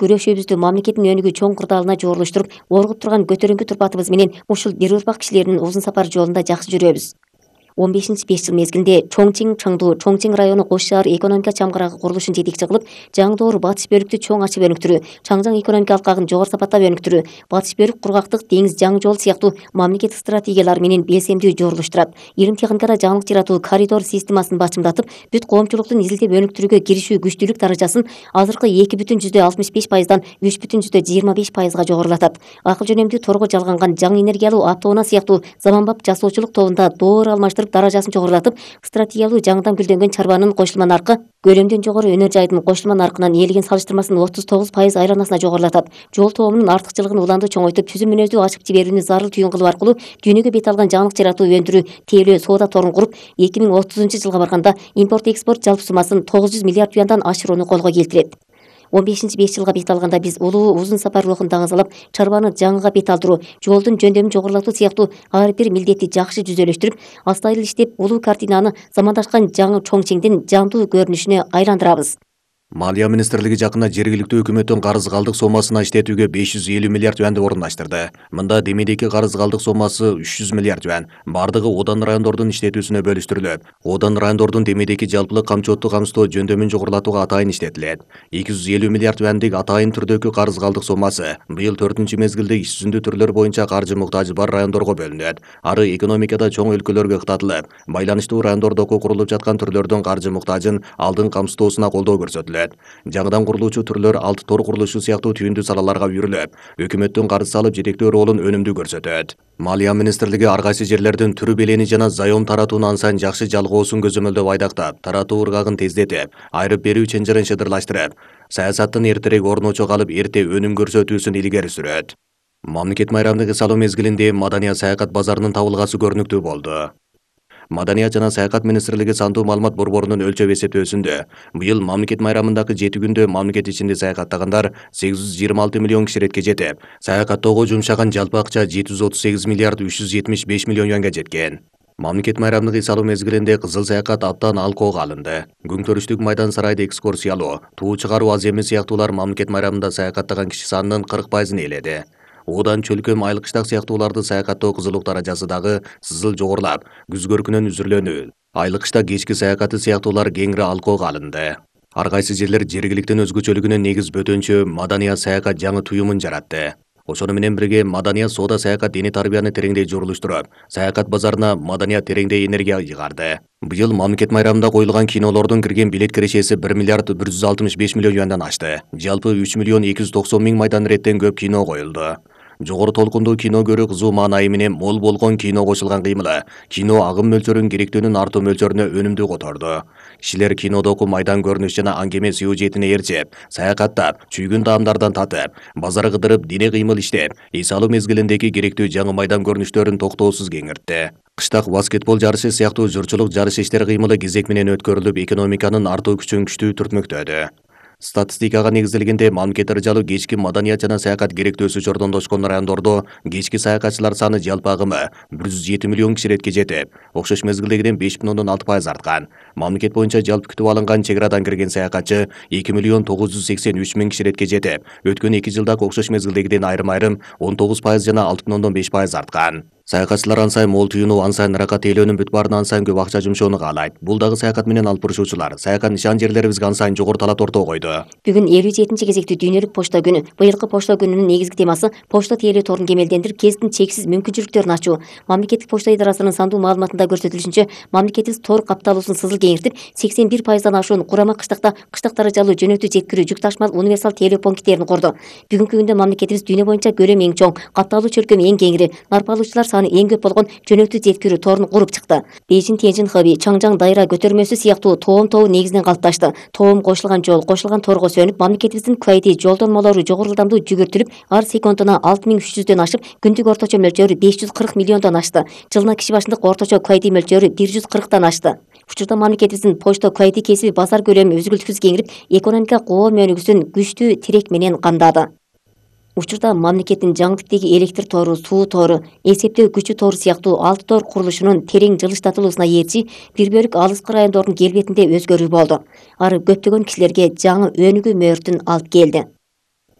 Күрөшүүбүздү мамлекеттин өнүгүү чоң кырдаалына жоорлоштуруп, оргуп турган көтөрүңкү турпатыбыз менен ушул бир урпак кишилердин узун сапар жолунда жакшы жүрөбүз. 15-5 жыл мезгилинде Чоңчиң Чаңду Чоңчиң району кош шаар экономика чамгырагы курулушун жетекчи кылып, Жаңдоор батыш бөлүктү чоң ачып өнүктүрүү, Чаңжаң экономика алкагын жогору сапаттап өнүктүрүү, батыш бөлүк кургактык деңиз жаңы жол сыяктуу мамлекеттик стратегиялар менен белсемдүү жоорлоштурат. Илим техникада жаңылык жаратуу коридор системасын бачымдатып, бүт коомчулуктун изилдеп өнүктүрүүгө киришүү күчтүүлүк даражасын азыркы 2,65%дан 3,25%га жогорулатат. Акыл жөнөмдүү торго жалганган жаңы энергиялуу автоунаа сыяктуу заманбап жасоочулук тобунда доор алмаштырып даражасын жогорулатып, стратегиялуу жаңыдан гүлдөнгөн чарбанын кошулма наркы көлөмдөн жогору өнөр жайдын кошулма наркынан ээлеген салыштырмасын 39% айланасына жогорулатат. Жол тобунун артыкчылыгын уланды чоңойтуп, түзүм мүнөздүү ачып жиберүүнү зарыл түйүн кылуу аркылуу дүйнөгө бет алган жаңылык жаратуу, өндүрүү, тейлөө, соода торун куруп, 2030-жылга барганда импорт-экспорт жалпы суммасын 900 миллиард юандан ашырууну колго келтирет. 15-5 жылга бет алганда биз улуу узун сапарлоокун даңазалап, чарбаны жаңыга бет алдыруу, жолдун жөндөмүн жогорулатуу сыяктуу ар бир милдетти жакшы жүзөлөштүрүп, астайыл иштеп, улуу картинаны замандашкан жаңы Чоңчиңдин жандуу көрүнүшүнө айландырабыз. Малия министрлиги жакында жергиликтүү өкмөттүн карыз калдык сомасына иштетүүгө 550 миллиард юанды орундаштырды. Мында демейдеги карыз калдык сомасы 300 миллиард юан. Бардыгы Одан райондордун иштетүүсүнө бөлүштүрүлөт. Одан райондордун демейдеги жалпылык камчылыктуу камсыздоо жөндөмүн жогорулатууга атайын иштетилет. 250 миллиард юандык атайын түрдөгү карыз калдык сомасы быйыл 4-мезгилде иш жүзүндүү түрлөр боюнча каржы муктажы бар райондорго бөлүнөт. Ары экономикада чоң өлкөлөргө ыктатылып, байланыштуу райондордогу курулуп жаткан түрлөрдүн каржы муктажын алдын камсыздоосуна колдоо көрсөтүлөт. Жаңыдан курулуучу түрлөр алты тор курулушу сыяктуу түйүндүү салаларга үйрүлүп, өкмөттүн карыз салып жетектөө ролун өнүмдүү көрсөтөт. Малия министрлиги ар кайсы жерлердин түрү белени жана заем таратууну ансайын жакшы жалгоосун көзөмөлдөп айдактап, таратуу ыргагын тездетип, айрып берүү чынжырын шыдырлаштырып, саясаттын эртерээк орночо калып эрте өнүм көрсөтүүсүн илгери сүрөт. Мамлекет майрамдык эс алуу мезгилинде Маданият саякат базарынын табылгасы көрүнүктүү болду. Маданият жана саякат министрлиги сандуу маалымат борборунун өлчөп эсептөөсүндө быйыл мамлекет майрамындагы 7 күндө мамлекет ичинде саякаттагандар 826 миллион киширетке жетип, саякаттоого жумшаган жалпы акча 738 миллиард 375 миллион юанга жеткен. Мамлекет майрамдык эс алуу мезгилинде кызыл саякат абдан алкоого алынды. Күңтөрүштүк майдан сарайды экскурсиялоо, туу чыгаруу аз эми сыяктуулар мамлекет майрамында саякаттаган киши санынын 40%-ын ээледи. Одан чөлкөм айылкыштак сыяктууларды саякаттоо кызылук даражасы дагы сызыл жогорулап, күз көркүнөн үзүрлөнүү. Айылкыштак кечки саякаты сыяктуулар кеңири алкоого алынды. Ар кайсы жерлер жергиликтин өзгөчөлүгүнө негиз бөтөнчө Маданият саякат жаңы туюмун жаратты. Ошону менен бирге Маданият соода саякат диний тарбияны тереңдей журулуштуруп, саякат базарына Маданият тереңдей энергия жыгарды. Быйыл мамлекет майрамында коюлган кинолордун кирген билет кирешеси 1 миллиард 165 миллион юандан ашты. Жалпы 3 миллион 290 миң майдан реттен көп кино коюлду. Жогору толкундуу кино көрүү кызуу маанайы менен мол болгон кино кошулган кыймылы кино агым мөлчөрүн керектөөнүн артуу мөлчөрүнө өнүмдүү которду. Кишилер кинодогу майдан көрүнүш жана аңгеме сюжетине ээрчип, саякаттап, чүйгүн таамдардан татып, базар кыдырып, дине кыймыл иштеп, эс алуу мезгилиндеги керектүү жаңы майдан көрүнүштөрүн токтоосуз кеңиртти. Кыштак баскетбол жарышы сыяктуу журчулук жарыш иштери кыймылы кезек менен өткөрүлүп, экономиканын артуу күчүн күчтүү түртмөктөдү. Статистикага негизделгенде мамлекет ыржалуу кечки Маданият жана саякат керектөөсү чордондошкон райондордо кечки саякатчылар саны жалпы агымы 107 миллион киширетке жетип, окшош мезгилдегиден 5,6% арткан. Мамлекет боюнча жалпы күтүп алынган чек арадан кирген саякатчы 2 миллион 983 миң киширетке жетип, өткөн 2 жылдагы окшош мезгилдегиден айрым-айрым 19% жана 6,5% арткан. Саякатчылар ансайын мол түйүнүү, ансайын ыракка тейлөөнүн бүт баарына ансайын көп акча жумшоону каалайт. Бул дагы саякат менен алып бурушуучулар, саякат нишан жерлерибизге ансайын жогору талап ортого койду. Бүгүн 57 кезектүү дүйнөлүк почта күнү. Быйылкы почта күнүнүн негизги темасы почта тейлөө торун кемелдендирип, кесиптин чексиз мүмкүнчүлүктөрүн ачуу. Мамлекеттик почта идарасынын сандуу маалыматында көрсөтүлүшүнчө, мамлекетибиз тор капталуусун сызыл кеңиртип, 81%дан ашуун курама кыштакта кыштак даражалуу жөнөктүү жеткирүү жүк ташмал универсал тейлөө пункттерин курду. Бүгүнкү күндө мамлекетибиз дүйнө боюнча көлөмү эң чоң, катталуу чөлкөмү эң кеңири, нарп алуучулар саны эң көп болгон жөнөктүү жеткирүү торун куруп чыкты. Бейжин Тяньшин Хэби, Чаңжаң дайра көтөрмөсү сыяктуу тоом тобу негизинен калыпташты. Тоом кошулган жол, кошулган торго сөнүп, мамлекетибиздин квайти жолдон молору жогору ылдамдуу жүгүртүлүп, ар секундуна 6300дөн ашып, күндүк орточо мөлчөрү 540 миллиондон ашты. Жылына киши башындык орточо квайти мөлчөрү 140тан ашты. Учурда мамлекетибиздин почта квайти кесиби базар көлөмү үзгүлтүксүз кеңирип, экономика коом өнүгүүсүн күчтүү тирек менен камдады. Учурда мамлекеттин жаңы типтеги электр тору, суу тору, эсептөө күчү тору сыяктуу 6 тор курулушунун терең жылыштатылуусуна ээрчи бир бөлүк алыскы райондордун келбетинде өзгөрүү болду. Ары көптөгөн кишилерге жаңы өнүгүү мөөртүн алып келди.